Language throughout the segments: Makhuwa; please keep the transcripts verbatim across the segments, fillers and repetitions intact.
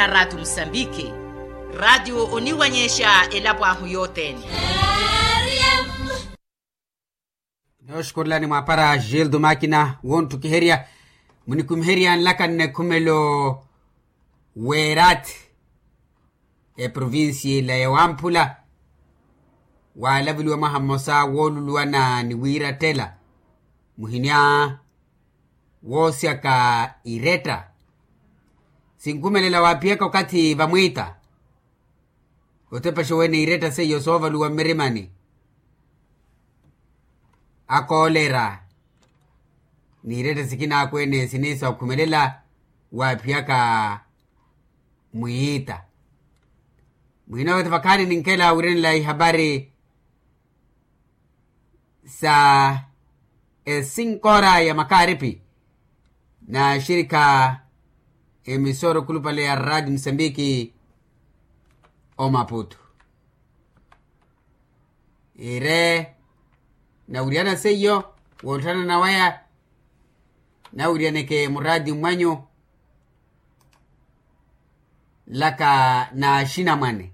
Raatu musambiki. Raatu oniwanyexa elapo ahu yothene. Nooxukurelani mwaapara gildo makina wonttukiherya. Munikumiherya nlaka nnekhumelo weerathi eprovincia ila ya wamphula. Waalaveliwa mwaha mmosa wooluluwana ni wiirattela muhinya woosyaka iretta. Sinkhumelela waaphiyaka okathi vamwiita otepexa oweene iretta seiyo soovaluwa mmirimani akoolera n'iretta sikina akweene siniisa okhumelela waaphiyaka mwiita. Mwiina woothi vakhaani ninkela wiirenela ihapari sa esinkora ya makaaripi na axirikha emisora okhulupale ya raati musambiki omaputu. Ire nawiriyana seiyo wootthana nawaya nawiriyaneke muraati mmwanyu nlaka na axinamwane.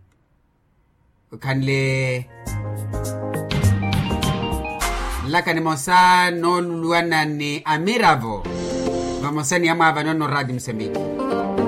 Okhanle nlaka nimosa nooluluwana ni amiravo vamosa ni amwaavano nno raati musambiki.